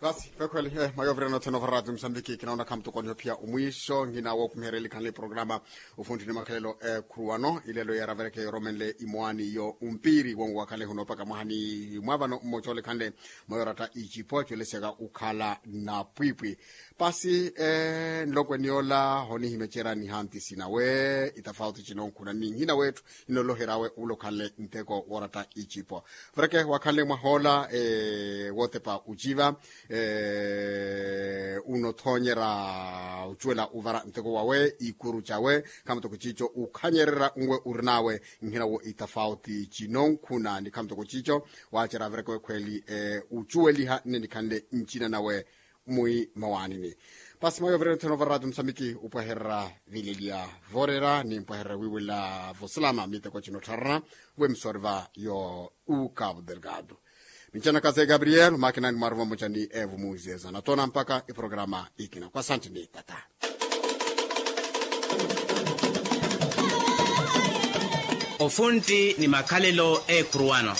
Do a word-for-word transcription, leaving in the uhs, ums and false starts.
Vasi vekhweli, mayovireno theno varati musambiki kinaona khamutokoniho phiya omwiiso nhina wookumiherya elikhanle programa. Ofunthi ni makhalelo ekhuru wano ilelo yeeravereke yoromenle imoani yo ompiri wonwakhale huno paka mwahani mwa vano mmoca olekhanle mayoratta icipo acuwelesyaka ukhala napwipwi. Pasi nlokweni yola honihimecera nihanti sinawe itafauti cinonkhuna ni nhina wetthu. Inolohery'awe ulo okhanle nteko wooratta icipo. Vareke wakhanle mwaha ola wootepa uciva, unothoonyerya ocuwela uvara nteko wawe ikuru cawe khamatoko ciico ukhanyererya nwe urin'awe. Nhina wo itafauti cinonkhuna ni khamatoko ciico waacerya vareke wekhweli ucuweliha nne nikhanle ncina nawe mwi mawaanini. Pasi mayovireno theno varati musambiki upwehererya vileliya voorera ni mpwehererya wiiwela vosalama miteko cino ottharana. Vwemisoori va yo ukavu delgado. Mincana kase gabriel makinani mwaruva mmoca ni evu muzieza natoona mpaka iprograma ikina kwa santi ni tata. Ofunti ni makhalelo ekhuru wano.